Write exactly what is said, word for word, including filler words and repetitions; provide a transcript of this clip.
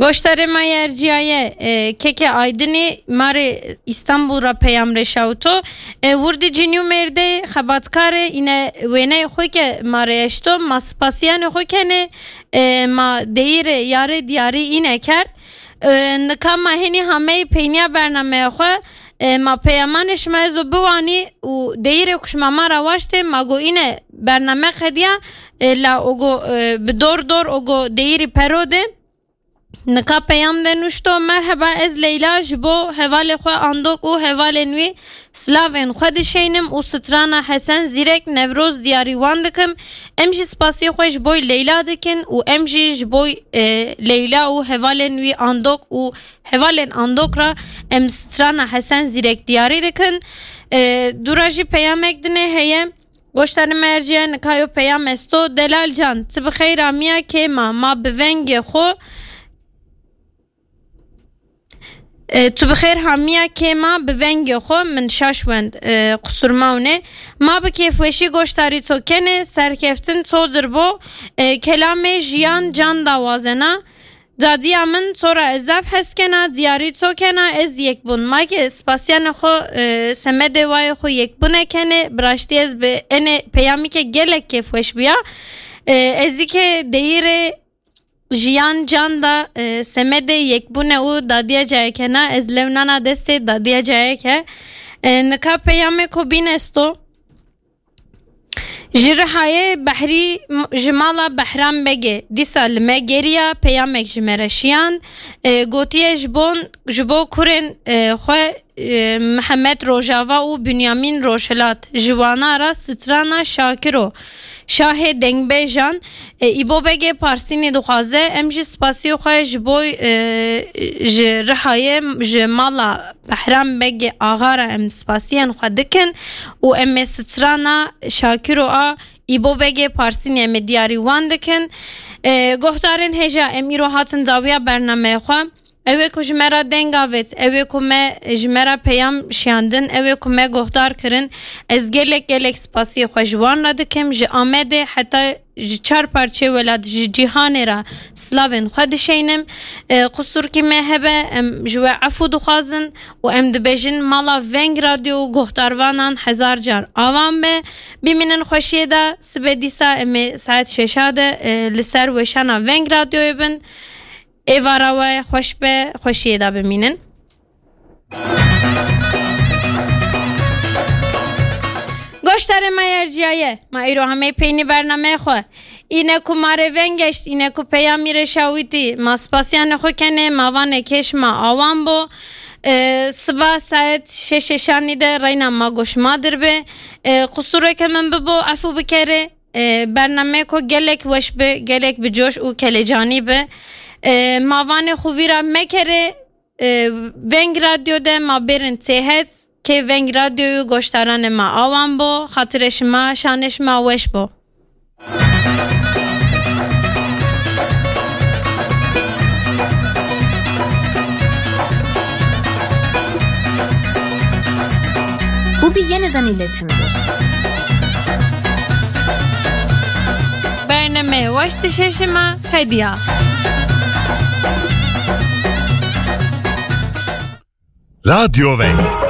Goştarê ma yê erciyaye, e, Keke Aydinî, ma rê Îstanbul ra peyam reşawito. E, wirdî cinî û mêrdê xebatkar ê, îne wêneyê xwe ke ma rê eşto, ma spasiyanê xwe kenê, e, ma deyîrê yarê diyarî îne kerd. E, nika ma henî hameyî peynîya bernameya xwe, e, ma peyamanê şima ezo biwanî û deyîrê ku şima ma ra waştê, ma go îne bername qediya, e, la ogo, e, bi dor dor ogo deyîrî pero de. Nika peyam de nuşto, Merheba, ez Leyla, ji bo hevalê xwe Andok û hevalên wî silavên xwe dişeynim û strana Hesen Zîrek Newroz diyarî wan dikim. Em jî spasiyê xwe ji boy Leyla dikin û em jî ji boy, e, Leyla û hevalên wî Andok û hevalên Andok ra em strana Hesen Zîrek diyarî dikin. E, dûra jî peyamek dinê heye. Goştarê me erciye, nika yo peyam esto. Delal can, tu bi xeyr amiya kêma, ma bi vengê xwe, e, tu bi xêr hamiya kêma bi vengê xwe, min şaş wend, e, qusur mawne. Ma bi kêfweşî goştarî to kenê, serkeftin to dir bo, e, kelamê jiyan can dawazena. Dadiya min, to ra ez zaf hes kena, diyarî to kena, ez yek bûn. Ma ke spasiyanê xwe, e, semedê wayê xwe yek bûne kenê, bi raştî ez bi enê peyamî ke gelek kêfweş bûya. E, ez dî ke deyîrê jiyan can da, e, semedê yek bûne û dadiya cayê kena, ez lew nana destê dadiya cayê ke. E, nika peyamê ko bîn esto. Ji Rihayê Behrî m-, ji mala Behram Begê dîsa li me geriya, peyamek ji me re şiyan. E, gotiye ji bon, ji bo kurên, e, xwe, e, Mihemed Rojava û Bünyamin Rojhilat, ji wana ra strana Şakiro, şahê dengbêjan, e, Îbo Begê Parsînî dixwaze. Em jî spasiyê xwe ji bo, e, ji Rihayê, ji mala Behram Begê Axa re em spasiyên xwe dikin û em ê strana Şakiro a Îbo Begê Parsînê em ê diyarî wan dikin. E, guhdarên hêja, em îro hatin dawiya bernameya xwe. Ew ê ku ji me re deng avêt, ew ê ku me, ji me re peyam şiyandin, ew ê ku me guhdar kirin, ez gelek gelek spasiyê xwe ji wan re dikim. Ji Amedê heta ji çar parçeyê welat, ji cîhanê re silavên xwe dişeynim. E, qusurkî me hebe, em ji we efû dixwazin û em dibêjin mala Veng Radyo û guhdarvanan hezar car awan be. Bimînin xweşiyê de, sibê dîsa em ê saet şeşa de, e, li ser weşana Veng Radyoyê bin. Êvara we xweş be, xweşiyê de bimînin. Goştarê me yê erciyaye, ma îro hemê peynî bernameyê xwe. Îne ku ma rê veng geşt, îne ku peyamî rê şawitî, ma spasiyanê xwe kenê, ma vanê kêş ma awan bo. E, siba saet şeşê şanî de reyna ma goş ma dir be. E, qusureke min bibo, efû bikerê. E, bernameyê ku gelek weş bi, gelek bi coş û kelecanî bi. E, ma vanê xwe vîra mekerê, e, Veng Radyo de ma bêrin têhet, kê Veng Radyoyê goşdaranê ma awan bo, xatirê şima, şanê şima weş bo. Bu bir yeniden iletim bu. Bername weş dişe şima qediya. Radyo Veng.